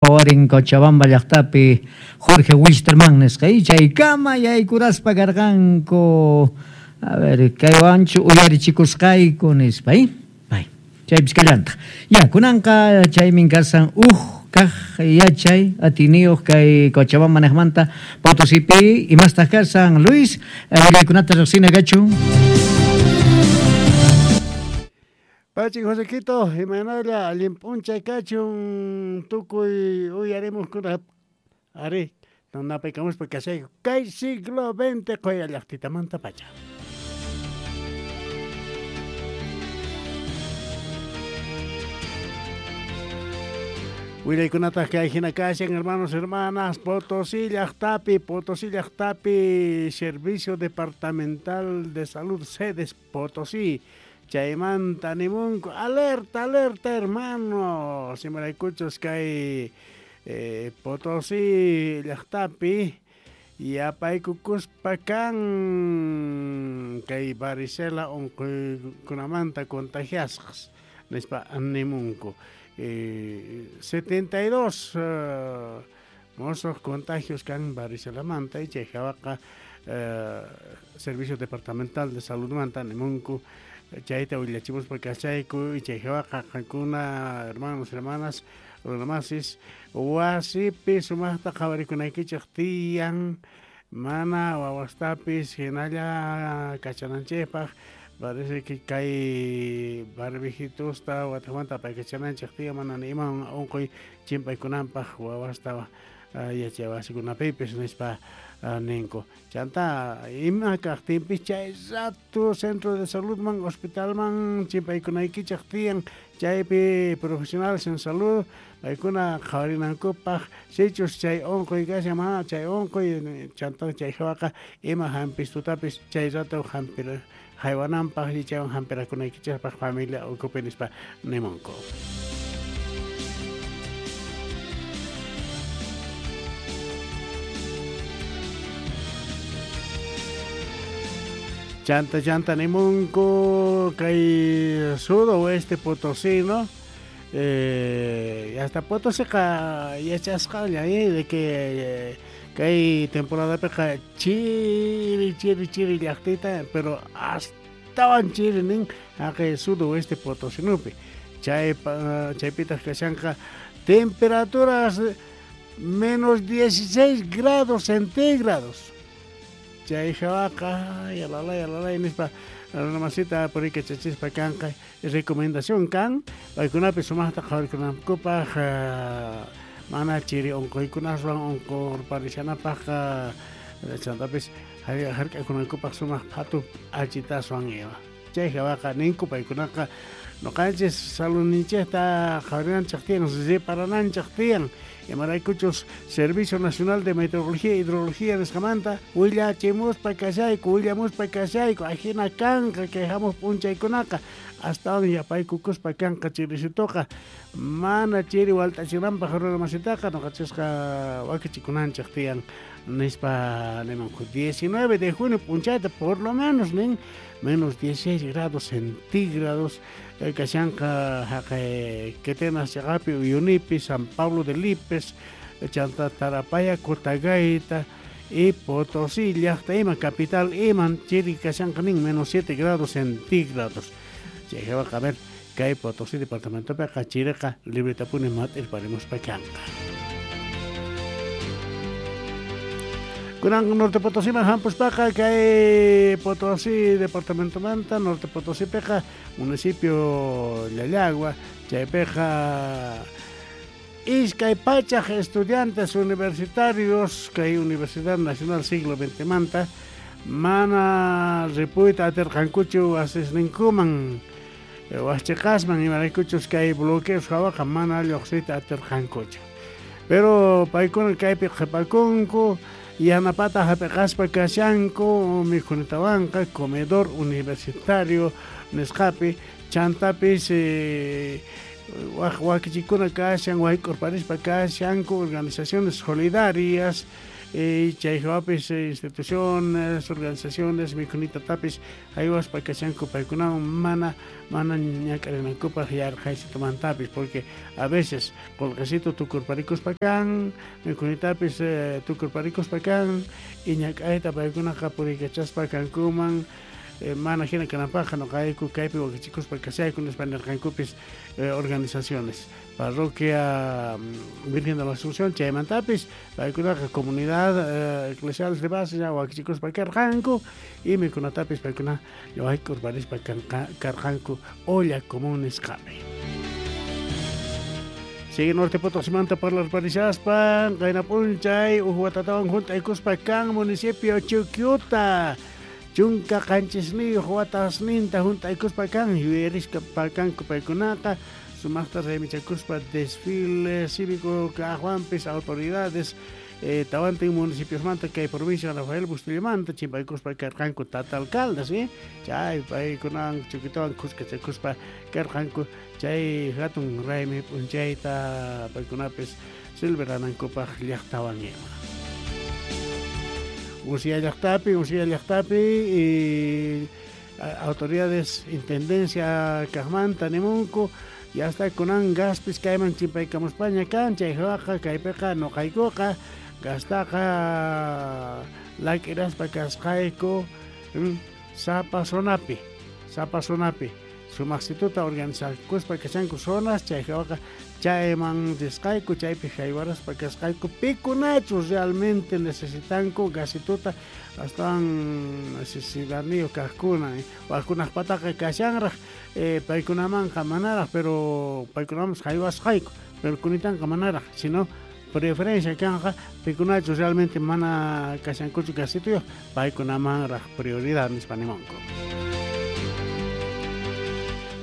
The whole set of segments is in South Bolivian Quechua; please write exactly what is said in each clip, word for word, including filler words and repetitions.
Warin Cochabamba llaqtapi Jorge Wisterman nisqa y chaykama yaykuraspa karqanku. A ver, kaywanchu uyarichikusqayku nispa, ¿eh? Bay, chaypis kallantaq. Ya, kunanqa chaymin kasan uj kaq yachay atiniyuq kay Cochabamba niqmanta Potosipi imastaq kasan Luis, willaykunata riqsina kachun. Pachi Josequito, imaynalla allin p'unchay kachun tukuy uyarimuqkuna ari napaykamuspa kashayku kay siglo veinte qoya llaqtitamanta pacha. Willaykunataq kay hina kashan hermanos, hermanas, Potosí llaqtapi, Potosí llaqtapi, Servicio Departamental de Salud Sedes Potosí. Chaymanta nimunku, alerta, alerta, hermano. Simaraykuchus kay eh, Potosí llaqtapi yapaykukuspa kan kay varicela unquykunamanta contagiasqas nispa nimunku. Eh, setenta y dos uh, mozos contagios kan varicelamanta y chay hawaqa eh, Servicio Departamental de Salud manta nimunku. Chayta willachimuspa kachayku y chay hawaqa qankuna hermanos, hermanas, runamasis wasipi sumaqta qhawarikunaykichik tiyan mana wawastapis hinalla kachananchikpaq parece que kay barbijitusta watajmanta paykachananchik tiyan mana ni iman unquy chimpaykunanpaq wawasta yachaywasikunapipis nispa ninku. Chanta ima kaqtinpis chay rato centro de saludman hospitalman chimpaykunaykichik tiyan chaypi profesionales en salud paykuna qhawarinankupaq sichus chay unquy kashan mana chay unquy chanta chay hawaqa ima hampistutapis chay rato hampir haywananpaq y chaywan hampirakunaykichikpaq familia ukupi nispa nimunku. Chanta chanta nimunku kay sudoeste potosino eh, hasta Potosíqa yachasqalla eh, de que eh, kay temporadapiqa chiri chiri chiri llaqtita pero astawan chiri nin haqay sudoeste potosinupi chay chaypitaq kashanqa temperaturas menos dieciséis grados centígrados. Chay hawaqa yalalay yalalay nispa runamasita purikachachispa kanqa recomendación kan paykunapi sumaqta qhawarikunankupaq mana chiri unquykunaswan unqurparishanapaq chantapis hark'akunankupaq sumaq phatu achitaswan ima. Chay hawaqa ninku paykunaqa noqanchis saludninchikta qhawarinanchik tiyan reparananchik tiyan imaraykuchus Servicio Nacional de Meteorología e Hidrología nisqamanta willachimuspa kashayku willamuspa kashayku ajina kanqa kay hamuq p'unchaykunaqa astawan yapaykukuspa kanqa chirisituqa mana chiri walt'achinanpaq runamasitaqa noqachisqa wakichikunanchik tiyan nispa nimunku. diecinueve de junio p'unchayta por lo menos nin menos dieciséis grados centígrados kashanqa haqay Quetenas chaqapi Uyunipi San Pablo de Lipes chanta Tarapaya Cotagaita y Potosí llaqta ima capital iman chiri kashanqa nin menos siete grados centígrados. Chay hawaqa a ver kay Potosí departamentopiqa chiriqa libretapuni mat'irparimuspa kanqa. Kunan Norte Potosíman hampuspaqa kay Potosí departamentomanta Norte Potosípiqa municipio Llallagua chaypiqa iskay pachaq estudiantes universitarios kay Universidad Nacional Siglo veinte manta mana ripuyta atirqankuchu wasisninkuman wasichiqasman imaraykuchus kay bloqueos hawaqa mana lluqsiyta atirqankuchu. Pero paykuna kaypi qhipakunku yanapata hap'iqaspa kashanku mikhunitawanqa comedor universitario nisqapi chantapis eh, waq wakichikuna kashan wayk'urparispa kashanku organizaciones solidarias Y chay hawapis instituciones, organizaciones, mikhunita tapis haywaspa kashanku paykunawan mana mana ñak'arinankupaq yarqhaysitumantapis, porque a veces qullqisito tukurparikuspa kan, mikhunitapis eh, tukurparikuspa kan y ñak'ayta paykunaqa puriykachaspa kankuman. Eh, mana hina kananpaqqa nuqayku kaypi wakichikuspa kashayku nispa nirqankupis eh, organizaciones parroquia Virgen de la Asunción chaymantapis paykunaqa comunidad eh, eclesial de base ya wakichikuspa karqanku y mikhunatapis paykuna llawaykurparispa karqanku olla común nisqapi. Sigue Norte Potosimanta parlarparishaspa qayna p'unchay uj watatawan junt'aykuspa kan municipio Chuquiuta chunka qanchisniyuq watasninta junt'aykuspa kan yuyarisqa kanku paykunaqa sumaqta raymichakuspa desfile cívico kaqwanpis autoridades eh, tawantin municipiosmanta kay provincia Rafael Bustillamanta chimpaykuspa karqanku tata alcaldes eh? Chay paykunawan Chuquitawan khuskachakuspa karqanku chay hatun raymi p'unchayta paykunapis celebranankupaq llaqtawan ima. Usia llaqtapi, Usia llaqtapi y autoridades intendencia kaqmanta nimunku ya está kunan gaspis kayman chimpaykamuspaña kan chay hawaqa kaypiqa nuqaykuqa gastaqa lak'iraspa kasqayku sapa zonapi, sapa zonapi sumaqsituta organizakuspa kashanku zonas chay hawaqa chayman risqayku chaypi haywaraspa kasqayku pikunachus realmente necesitanku gasituta astawan necesidadniyuq kaqkuna waqkunaqpataqa kashanraq eh, paykunamanqa manaraq pero paykunamanpas haywasqayku pero kunitanqa manaraq sino preferencia kanqa pikunachus realmente mana kashankuchu gasituyuq paykunamanraq prioridad nispa nimunku.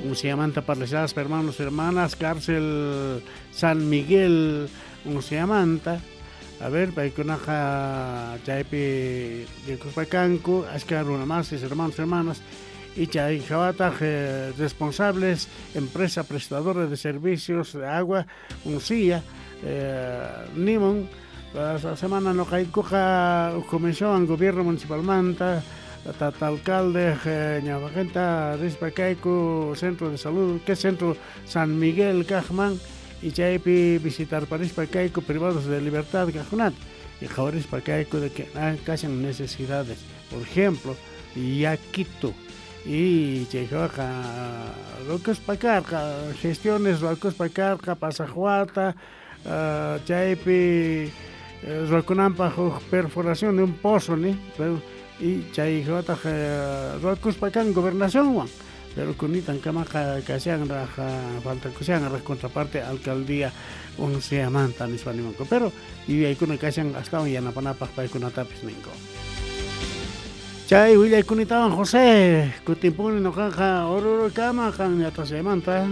Unciamanta parlishaspa hermanos, hermanas, cárcel San Miguel Unciamanta, a ver, paykunaqa chaypi rikuspa kanku, ashka runamasis, hermanos, hermanas, y chay hawataq eh, responsables, empresa prestadora de servicios de agua, Uncia, eh, nimun, la semana nuqaykuqa comisión gobierno municipalmanta, tata alcalde ñawaqinta rispa kayku centro de salud que centro San Miguel kaqman y chaypi visitarparispa kayku privados de libertad kaqkunata y qhawarispa kayku de que kashan necesidades, por ejemplo yakitu y chay hawaqa rukuspa karqa gestiones rukuspa karqa pasaqwata uh, chaypi rukunanpaq huk perforación de un pozo ni pero y chay hawataq ruwakuspa kan gobernacionwan pero kunitan kamaqa kashanraq faltakushanraq contraparte alcaldía Unciamanta nispa nimunku pero yuyaykuna kashan astawan yanapanapaq paykunatapis ninku. Chay willaykunatawan José kutimpuni nuqaqa Orurukama qan ñatashaymanta.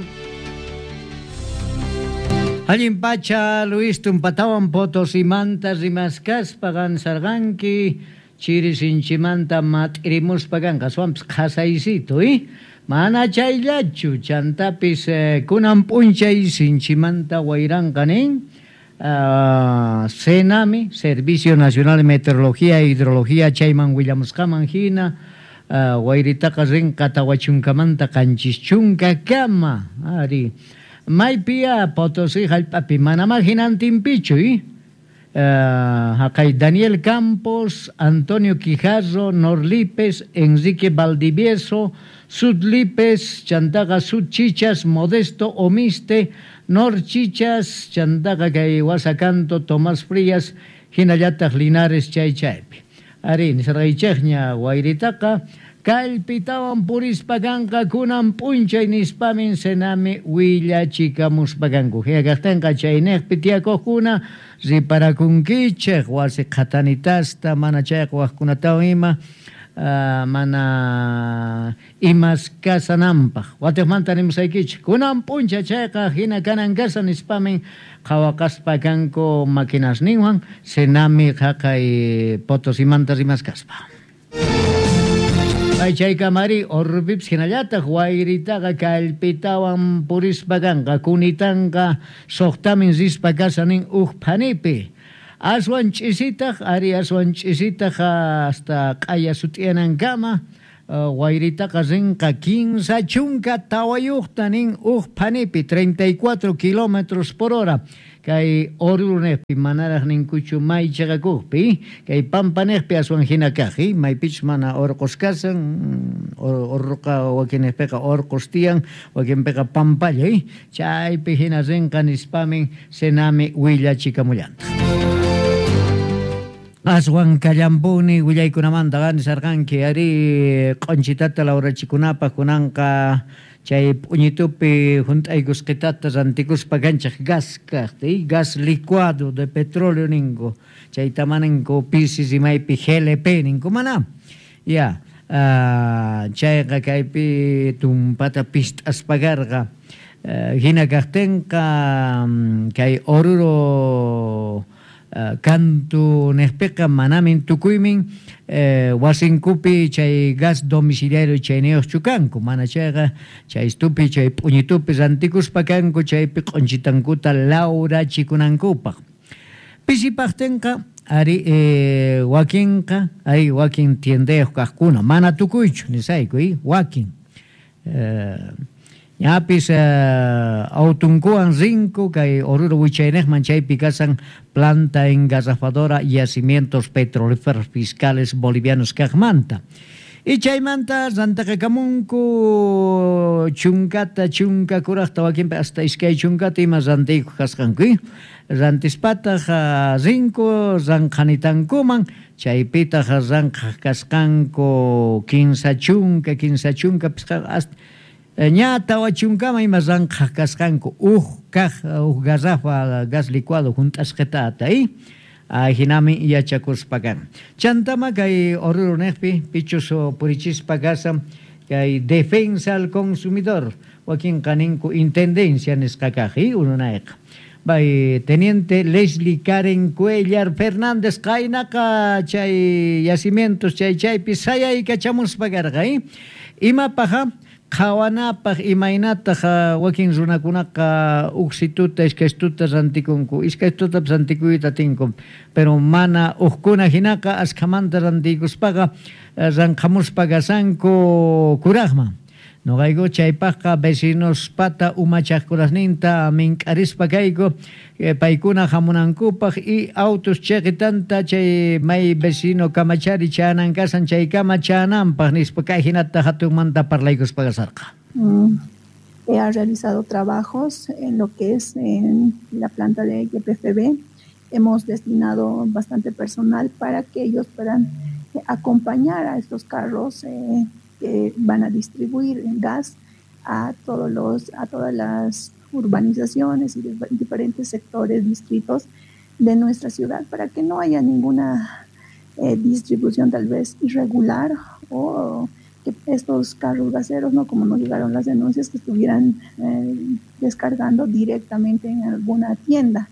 Allin pacha Luis tumpatawan Potosimanta rimaskaspa qansarqanki chiri sinchimanta mat'irimuspa kanqa aswanpis qhasaysito eh? Mana chayllachu chantapis eh, kunan p'unchay sinchimanta wayranqa nin uh, SENAMI, Servicio Nacional de Meteorología e Hidrología chayman willamusqaman hina uh, wayritaqa rinqa tawachunkamanta qanchischunka kama ari maypiya Potosí hallp'api manamá hinantinpichu eh? Uh, haqay Daniel Campos, Antonio Quijarro, Norlipes, Enrique Valdivieso, Sudlipes, chantaqa Sudchichas, Modesto Omiste, Norchichas, chantaqa kay Wasacanto, Tomás Frías, hinallataq Linares chay chaypi. Ari, nisarqaychikña wayritaqa kallpitawan purispa kanqa kunan p'unchay nispamin SENAMI willachikamuspa kanku. Hina kaqtinqa chayniqpi tiyakuqkuna riparakunkichik wasi qhatanitasta mana chayqa waqkunatawan ima uh, mana imas kasananpaq. Watiqmanta nimusaykichik kunan p'unchay chayqa hina kanan kasa nispamin qhawaqaspa kanku maquinasninwan SENAMI haqay Potosimanta rimaskaspa. Chaykamari Orupipis hinallataq wayritaqa kallpitawan purispa kanqa kunitanqa suqtamin rispa kasanin uj phanipi. Aswan ch'isitaq ari aswan ch'isitaq hasta q'aya sut'iyanankama wayritaqa rinqa kinsa chunka tawayuqta nin uj phanipi treinta y cuatro kilómetros por hora kay Oruro neqpi manaraq ninkuchu may chaqakuqpi kay Pampa neqpi aswan hina kaq maypichus mana orqos kasan orroqa wakinneqpiqa orqos tiyan wakinpiqa pampalla chaypi hina rinqa nispamin Senami willachikamullantaq. Aswan kallampuni willaykunamanta nisarqanki ari q'unchitata lawrachikunapaq kunanqa chay p'uñitupi hunt'aykusqitata rantikuspa kanchaq gas kaqta gas licuado de petróleo ninku chayta maninku pisi rimaypi G L P ninku mana ya chayqa kaypi tumpata pist'aspa karqa hina kaqtinqa kay Oruro kantu neqpiqa manamin tukuymin wasinkupi chay gas domiciliario chayniyuqchu kanku mana chayqa chay istupi chay p'uñitupi rantikuspa kanku chaypi q'unchitankuta lawrachikunankupaq pisipaqtinqa ari wakinqa ari wakin tiendayuq kaqkuna mana tukuychu nisayku wakin ñapis autunkuwan rinku kay Oruro wichayneqman chaypi kasan planta engarrafadora yacimientos petrolíferos fiscales bolivianos kaqmanta y chaymanta rantaqakamunku chunkata chunka kuraqta wakinpi hasta iskay chunkata ima rantiykuq kasqanku rantispataq rinku ranqanitankuman chaypitaq ranqaq kasqanku kinsa chunka kinsa chunka pisqa hasta ña tawa chunkama ima ranqaq kasqanku uj kaq uj garrafa gas licuado hunt'asqitata ajinami yachakuspa kan chantama kay Oruro neqpi pichus purichispa kasan kay defensa al consumidor wakinqa ninku intendencia nisqa kaq ununayqa bay teniente Leslie Karen Cuellar Fernández qaynaqa chay yacimientos chay chaypi sayaykachamусpa karqa imapaqa qhawanapaq imaynataq wakin runakunaqa uksituta iskaystuta rantikunku iskaystutapas rantikuyta atinku pero mana uqkuna hinaqa askhamanta rantiykuspaqa ranqhamuspa kasanku kuraqman noqayku chaypaqqa vecinospata umachaqkunasninta mink'arispa kayku paykuna hamunankupaq y autos chiqitanta chay may vecino kamachari chanan kasan chaykama chananpaq nispa kay hinata hatunmanta parlaykuspa kasarqa. Mm, he realizado trabajos en lo que es en la planta de Y P F B. Hemos destinado bastante personal para que ellos puedan acompañar a estos carros eh, que van a distribuir gas a todos los, a todas las urbanizaciones y de diferentes sectores, distritos de nuestra ciudad, para que no haya ninguna eh, distribución tal vez irregular o que estos carros gaseros, no como nos llegaron las denuncias, que estuvieran eh, descargando directamente en alguna tienda.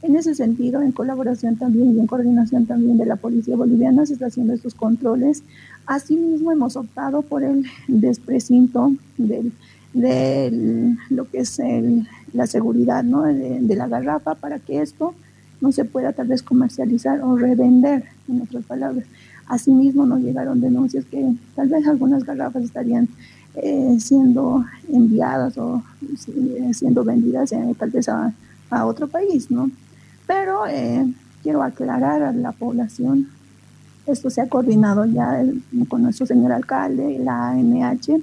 En ese sentido, en colaboración también y en coordinación también de la Policía Boliviana, se está haciendo estos controles. Asimismo, hemos optado por el desprecinto del, de lo que es el, la seguridad, ¿no?, de, de la garrafa, para que esto no se pueda tal vez comercializar o revender, en otras palabras. Asimismo, nos llegaron denuncias que tal vez algunas garrafas estarían eh, siendo enviadas o eh, siendo vendidas eh, tal vez a, a otro país, ¿no? Pero eh, quiero aclarar a la población, esto se ha coordinado ya el, con nuestro señor alcalde, la A M H,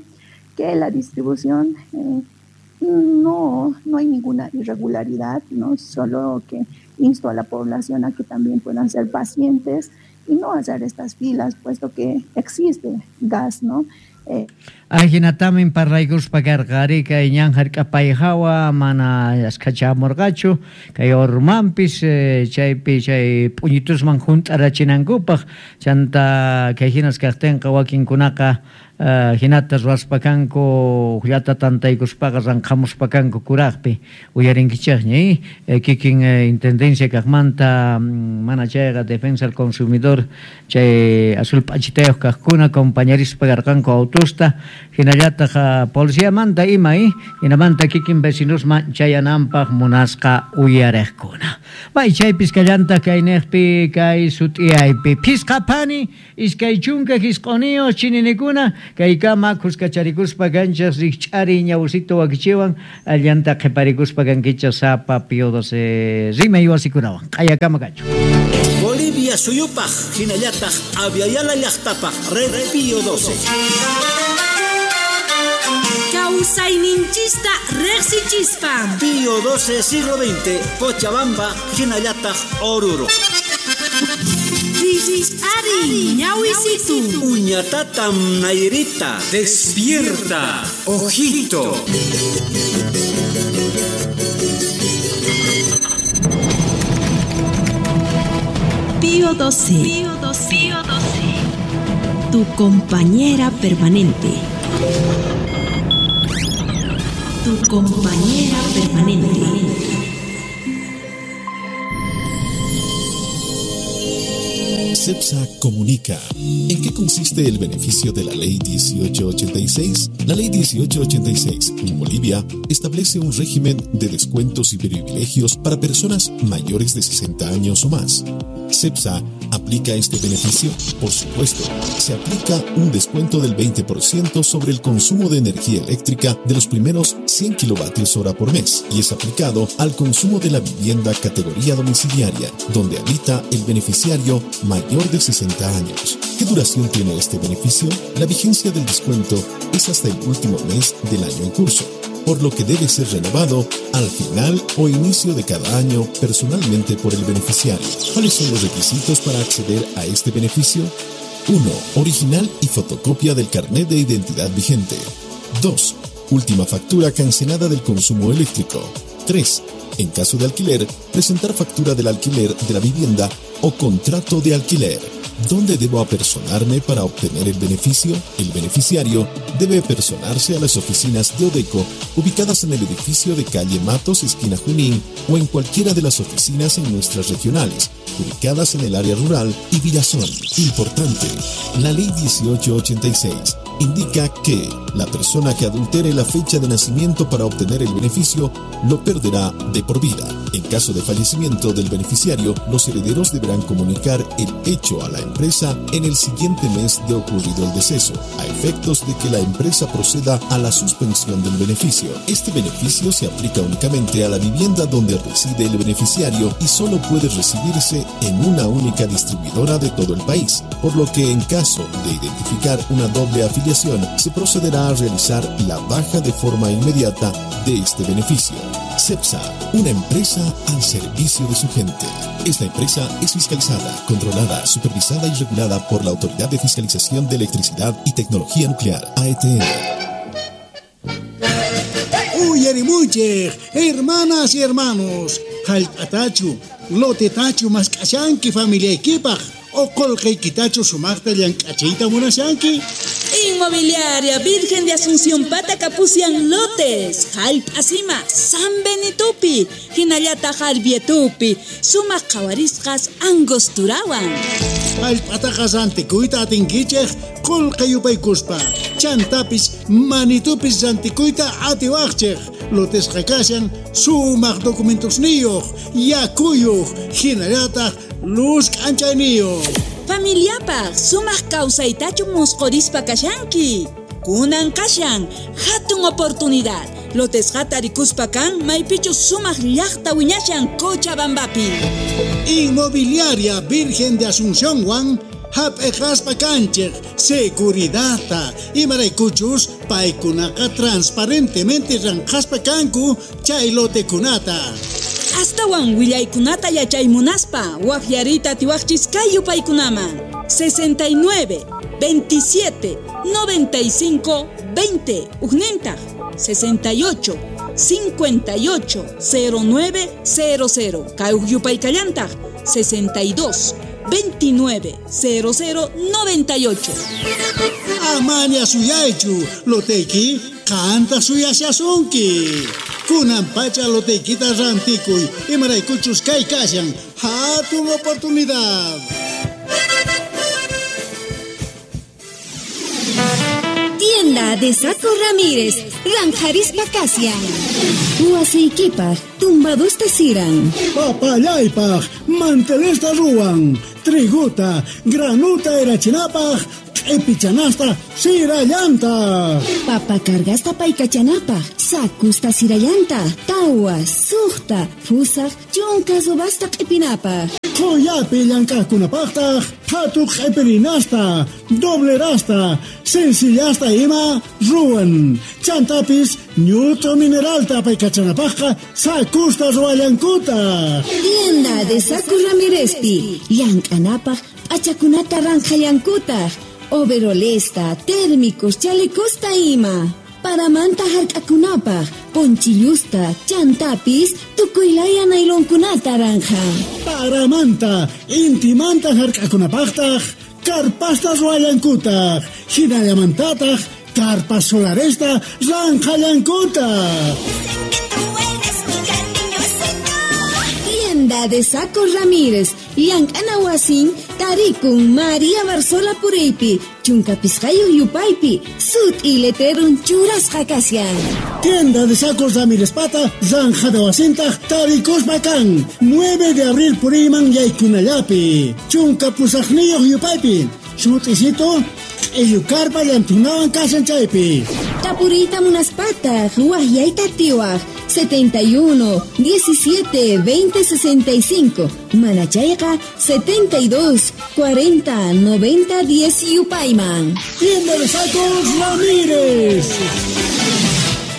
que la distribución eh, no, no hay ninguna irregularidad, ¿no? Solo que insto a la población a que también puedan ser pacientes y no hacer estas filas, puesto que existe gas, ¿no? Eh. Ajinatamin parlaykuspa karqa ari kay ñan hark'apayhawa mana askachamurqachu kay ormanpis chaypi chay p'uñitusman hunt'arachinankupaq chanta kay hinas kaqtinqa wakinkunaqa Uh, hinata ruwaspakanku llata tantaykuspaqa ranqhamuspakanku kuraqpi uyarinkichikña eh, kikin eh, intendencia kaqmanta mana chayqa defensa al consumidor chay azul p'achitayuq kaqkuna compañerispa karqanku autosta hinallataq uh, policiamanta ima eh, hinamanta kikin vecinosman chayananpaq munasqa uyariqkuna. Bay chaypis kallantaq kayniqpi kay sut'iyaypi phisqa phani iskay chunka hisq'uniyuq chininikuna kaykama khuskacharikuspa kanchas rikch'ari ñawsito wakichiwan allanta qhiparikuspa kankichas sapa Pío doce rimay wasikunawan q'ayakama kachu. Bolivia suyupaj hinallataq Aviala llaqtapaj Red Pío doce. Kawsayninchista riqsichispa Pío doce siglo veinte Cochabamba hinallataq Oruro. Ari, ñawisitu. Uñatatam Nairita. Despierta, ojito. Pío doce. Pío doce. Pío doce. Tu compañera permanente. Tu compañera permanente. CEPSA comunica. ¿En qué consiste el beneficio de la Ley dieciocho ochenta y seis? La Ley dieciocho ochenta y seis en Bolivia establece un régimen de descuentos y privilegios para personas mayores de sesenta años o más. ¿CEPSA aplica este beneficio? Por supuesto, se aplica un descuento del veinte por ciento sobre el consumo de energía eléctrica de los primeros cien kilovatios hora por mes y es aplicado al consumo de la vivienda categoría domiciliaria, donde habita el beneficiario mayor de sesenta años. ¿Qué duración tiene este beneficio? La vigencia del descuento es hasta el último mes del año en curso, por lo que debe ser renovado al final o inicio de cada año personalmente por el beneficiario. ¿Cuáles son los requisitos para acceder a este beneficio? uno. Original y fotocopia del carnet de identidad vigente. dos. Última factura cancelada del consumo eléctrico. tres. En caso de alquiler, presentar factura del alquiler de la vivienda o contrato de alquiler. ¿Dónde debo apersonarme para obtener el beneficio? El beneficiario debe apersonarse a las oficinas de Odeco ubicadas en el edificio de calle Matos, esquina Junín, o en cualquiera de las oficinas en nuestras regionales, ubicadas en el área rural y Villazón. Importante, la Ley dieciocho ochenta y seis indica que la persona que adultere la fecha de nacimiento para obtener el beneficio lo perderá de por vida. En caso de fallecimiento del beneficiario, los herederos deberán comunicar el hecho a la empresa en el siguiente mes de ocurrido el deceso, a efectos de que la empresa proceda a la suspensión del beneficio. Este beneficio se aplica únicamente a la vivienda donde reside el beneficiario y solo puede recibirse en una única distribuidora de todo el país, por lo que en caso de identificar una doble afiliación, se procederá a realizar la baja de forma inmediata de este beneficio. CEPSA, una empresa al servicio de su gente. Esta empresa es fiscalizada, controlada, supervisada y regulada por la Autoridad de Fiscalización de Electricidad y Tecnología Nuclear, A E T N. Uyarimuchej, hermanas y hermanos, jallp'atachu, lotetachu mask'ashanki familiaykipaj, o qolqaykitachu sumaqta llank'achiyta munashanki. Inmobiliaria Virgen de Asunción Pata Capucian Lotes, Jallp'asima, San Benitupi, hinallata Jarbietupi, sumaq qhawarisqas Angosturawan. Jallp'ataqa rantikuyta atinkichej qolqa yupaykuspa, chantapis manitupis rantikuyta atiwaqchej. Lotesqa kashan sumaq documentosniyuq, yakuyuq, hinallataq luz k'anchayniyuq. Familiapaj sumaq kawsaytachu musqhurispa kashanki. Kunan kashan hatun oportunidad. Lotesqata rikuspa kan maypichu sumaq llaqta wiñashan Cochabambapi. Inmobiliaria Virgen de Asunción Juan hap'eqaspa kanchej seguridadta imaraykuchus paykunaqa transparentemente ranqaspa kanku chay lotekunata. Astawan willaykunata yachaymunaspa waqyarita atiwaqchis kay yupaykunaman sesenta y nueve, veintisiete, noventa y cinco, veinte, ujnintaq sesenta y ocho, cincuenta y ocho, cero nueve, cero cero, kay uj yupaykallantaq sesenta y dos, veintinueve, cero cero, noventa y ocho. Amaña suyaychu, loteki kanta suyashasunki. Kunan pacha loteykita rantikuy, imaraykuchus kay kashan, hatun oportunidad. Tienda de Saco Ramírez, Ranjarispa Kasian. Huaseikipaj, tumbadusta siran. Papallaypaj, mantelesta ruwan, triguta, granuta erachinapaj, epichanasta, sirallanta. Papa cargasta paykachanapaj, sakusta sirallanta, tawa, sujta, fusaj, chunka zubasta q'ipinapaj. Qoyapi llank'aqkunapaqtaq, qhatuq q'ipirinasta, doblerasta, sencillasta ima ruwan. Chantapis ñut'u mineralta paykachanapaqqa sakusta ruwallankutaq. Tienda de Saco Ramírezpi, llank'anapaq p'achakunata ranqhallankutaq. Overolesta, térmicos, chalecosta ima. Paramanta hark'akunapaq, ponchillusta, chantapis, tukuylaya nailonkunata ranja. Paramanta, intimanta hark'akunapaqtaq, karpasta ruwallankutaq, hinallamantataq, karpas solaresta ranqhallankutaq. Tienda de Saco Ramírez, llank'ana wasin, tarikun María Barzola Pureypi, chunka pisqayuq yupaypi, sut'i letrerun churasqa kashan. Tienda de Sacos Ramírez pata, zanjada wasintaq, tarikuspa kan, nueve de abril puriyman yaykunallapi, chunka pusaqniyuq yupaypi, sut'isito, q'illukarpa llantunawan kashan chaypi. Tapuriyta munaspataq, waqyayta atiwaq, setenta y uno, diecisiete, veinte, sesenta y cinco. Manachayqa, setenta y dos, cuarenta, noventa, diez yupayman. Tienda de Sacos Ramírez.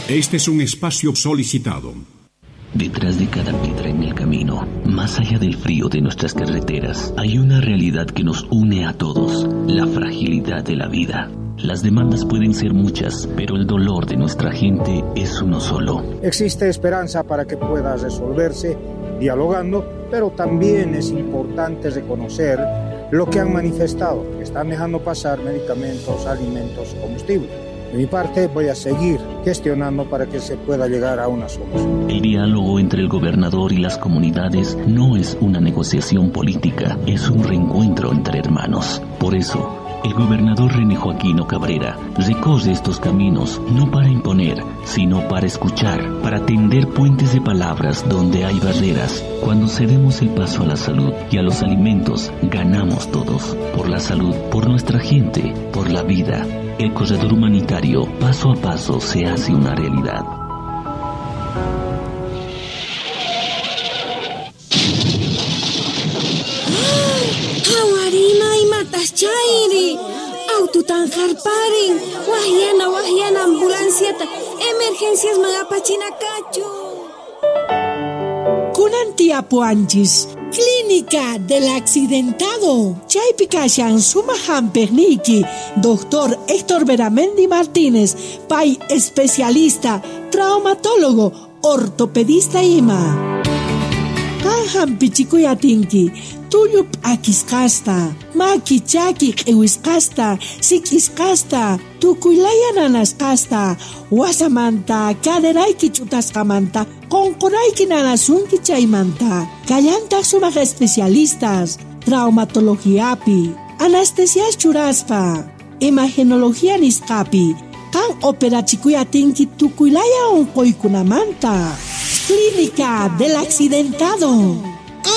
Este es un espacio solicitado. Detrás de cada piedra en el camino, más allá del frío de nuestras carreteras, hay una realidad que nos une a todos, la fragilidad de la vida. Las demandas pueden ser muchas, pero el dolor de nuestra gente es uno solo. Existe esperanza para que pueda resolverse dialogando, pero también es importante reconocer lo que han manifestado, que están dejando pasar medicamentos, alimentos, combustible. De mi parte, voy a seguir gestionando para que se pueda llegar a una solución. El diálogo entre el gobernador y las comunidades no es una negociación política, es un reencuentro entre hermanos. Por eso, el gobernador René Joaquino Cabrera recorre estos caminos no para imponer, sino para escuchar, para tender puentes de palabras donde hay barreras. Cuando cedemos el paso a la salud y a los alimentos, ganamos todos. Por la salud, por nuestra gente, por la vida. El corredor humanitario, paso a paso, se hace una realidad. ¡Hawarima y mataschairi! Aututan jarparin, wahyana wahyana ambulanciata, emergencias magapachinakachu. Kunan tiapuanchis, Clínica del Accidentado. Chaypi kashan suma hampiqniyki, doctor Héctor Beramendi Martínez, pay especialista, traumatólogo, ortopedista ima. Qan hampichikuy atinki, tullu p'akisqasta, maki chaki q'iwisqasta, sik'isqasta, tukuylaya nanasqasta, wasamanta, caderayki ch'utasqamanta, qunqurayki nanasunki chaymanta. Kallantaq sumaq especialistas, traumatologiapi, anestesias churaspa, imagenología nisqapi, qan operachikuy atinki tukuylaya unquykunamanta. Clínica del Accidentado.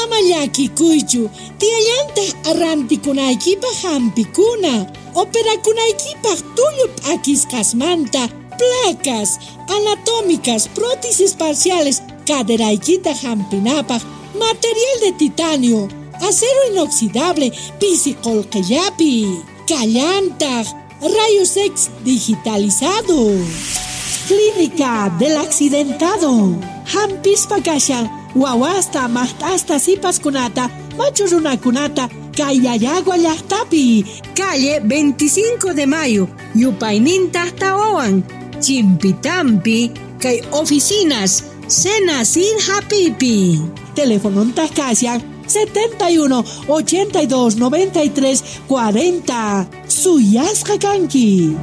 Ama llakikuychu, tiyallantaq arrantikunaykipaq hampikuna, operakunaykipaq tullu p'akisqasmanta, placas anatómicas, prótesis parciales, caderaykita hampinapaq, material de titanio, acero inoxidable, pisi qolqillapi, kallantaq, rayos X digitalizado. Clínica del Accidentado. Hampispa kashan, wawasta, maqt'asta, sipaskunata, machu runakunata, Kayayagua llaqtapi, calle veinticinco de mayo, yupayninta tawawan, Chimpitampi, kay oficinas, Cena sin Hapipi. Telefononta kashan, setenta y uno ochenta y dos noventa y tres cuarenta. Suyasqa kanki.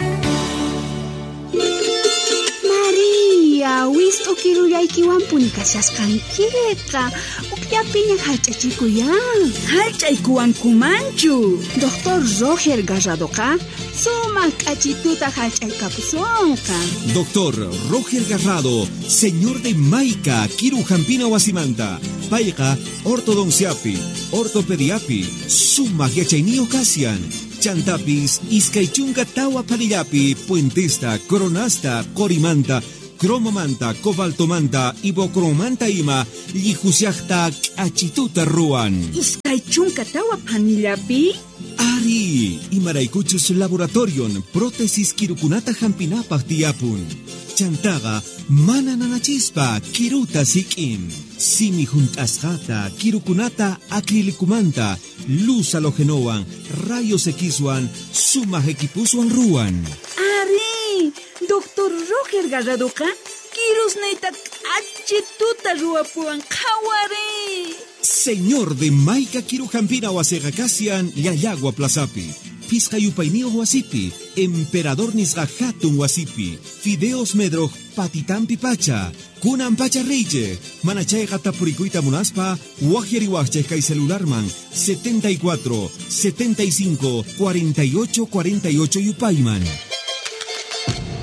Maria, wist'u kirullaykiwanpuni kashasqankiqa. Ukllapiña hallch'achikuyan. Hallch'aykuwankumanchu. Doctor Roger Garradoqa sumaq k'achituta hallch'aykapusonqa. Doctor Roger Garrado, señor de Maica, Kiru Jampina Wasimanta, payqa ortodonciapi, ortopediapi, sumaq yachayniyuq kasian. Chantapis, iskay chunka tawa panillapi, puentesta, coronasta, qorimanta, cromomanta, cobaltomanta, ibocromanta ima, llijusiaqta k'achituta ruwan. Iskay chunka tawa panillapi? Ari, imaraykuchus laboratorion, prótesis kirukunata hampinapaq tiyapun. Chantaqa mana nanachispa kiruta sik'in. Simi junt'asqata, kirukunata acrilicumanta, luz halogenowan, rayos Xwan, sumaq equipuswan ruwan. Ari, Doctor Roger Garradoqa kirusniyta k'achituta ruwapuwan qhawari. Señor de Maica Kirujampina wasiqa kasian Llallagua Plazapi, Pisqa yupayniyuq wasipi, Emperador nisqa hatun wasipi, Fideos Medroj patitampi pacha, kunan pacha reyche, mana chayqa tapurikuyta munaspa, waqyariwaqchej kay celularman setenta y cuatro, setenta y cinco, cuarenta y ocho, cuarenta y ocho yupayman.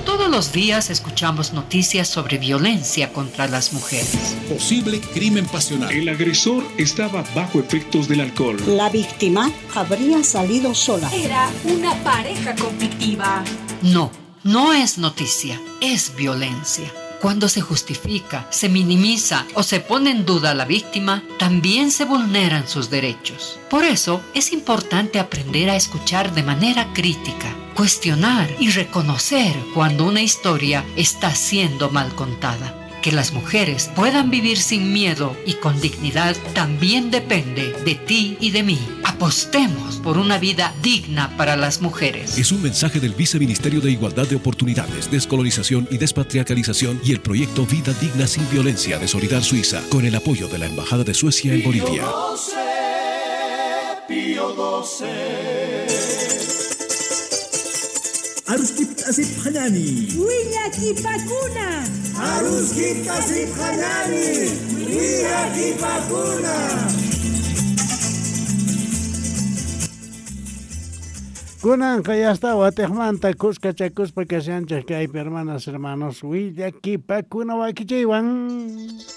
Todos los días escuchamos noticias sobre violencia contra las mujeres. Posible crimen pasional. El agresor estaba bajo efectos del alcohol. La víctima habría salido sola. Era una pareja conflictiva. No, no es noticia, es violencia. Cuando se justifica, se minimiza o se pone en duda a la víctima, también se vulneran sus derechos. Por eso es importante aprender a escuchar de manera crítica, cuestionar y reconocer cuando una historia está siendo mal contada. Que las mujeres puedan vivir sin miedo y con dignidad también depende de ti y de mí. Apostemos por una vida digna para las mujeres. Es un mensaje del Viceministerio de Igualdad de Oportunidades, Descolonización y Despatriarcalización y el proyecto Vida Digna Sin Violencia de Solidar Suiza, con el apoyo de la Embajada de Suecia en Bolivia. Pío doce. Aruskip asip hanani. Willakipakuna. Aruskip asip hanani. Willakipakuna. Kunanqa ya está watejmanta kuskachakuspa kashanchej kaypi hermanas hermanos willakipakuna wakichiywan.